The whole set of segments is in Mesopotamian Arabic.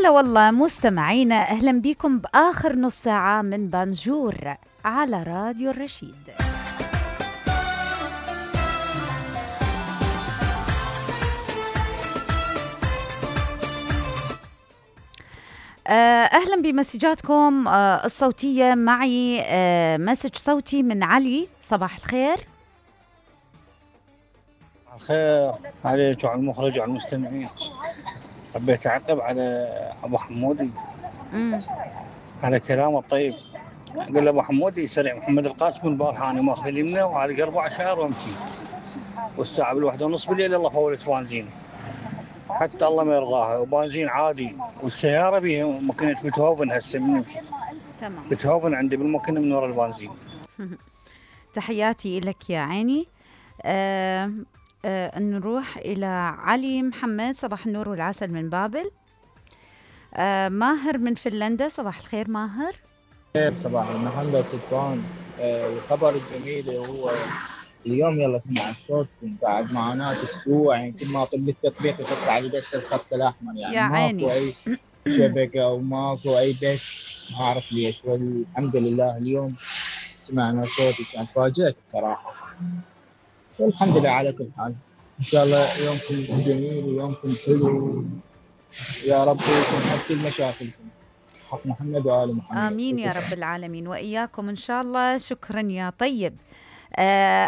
هلا والله مستمعينا، أهلا بكم بآخر نص ساعة من بانجور على راديو الرشيد. أهلا بمسجاتكم الصوتية. معي مسج صوتي من علي. صباح الخير. الخير عليك وعلى المخرج وعلى المستمعين. حبيت أعقب على أبو حمودي على كلامه الطيب. قال أبو حمودي سريع محمد القاسم البارحة أنا ماخذ اليمنى وعلى 4 شهر وأمشي، والساعة 1:30 بالليل الله فولت بنزين، حتى الله ما يرضاها، وبنزين عادي، والسيارة بيها ماكينة بيتهوفن هسه من نمشي. تمام. بيتهوفن عندي بالماكينة من وراء البنزين. تحياتي لك يا عيني. نروح إلى علي محمد. صباح النور والعسل من بابل. ماهر من فنلندا. صباح الخير ماهر. صباح المحمد سلطان. الخبر الجميل هو اليوم يلا سمع الصوت بعد معاناة أسبوع، يعني كل ما طلب التطبيق يطلع علي بس الخط الأحمر، يعني ماكو أي شبكة وماكو أي بث، ما أعرف ليش. والحمد لله اليوم سمعنا صوتك، يعني تفاجأت بصراحة، والحمد لله على كل حال. إن شاء الله يومكم جميل ويومكم حلو، يا رب يكون حل كل مشاكلكم. حق محمد وآل محمد. آمين يا رب العالمين، وإياكم إن شاء الله. شكرا يا طيب.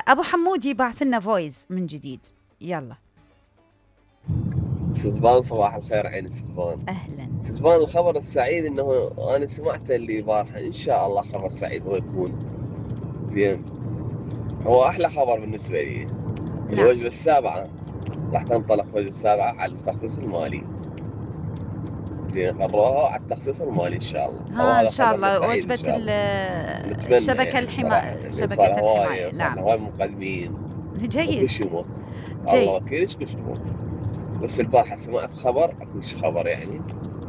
أبو حمودي بعث لنا فويس من جديد. يلا سلطان. صباح الخير عيني سلطان. أهلا سلطان. الخبر السعيد إنه أنا سمعته اللي بارحة، إن شاء الله خبر سعيد هو يكون زين، هو أحلى خبر بالنسبة لي. الوجبة السابعة راح تنطلق، وجبة السابعة على التخصيص المالي. زين، قرروها على التخصيص المالي إن شاء الله. إن شاء الله وجبة الشبكة الحماية، شبكة الحماية. نعم، هواي مقدمين. جيد. وكل يموت الله وكيلش، كل يموت. بس البارحة سمعت خبر، أكو خبر يعني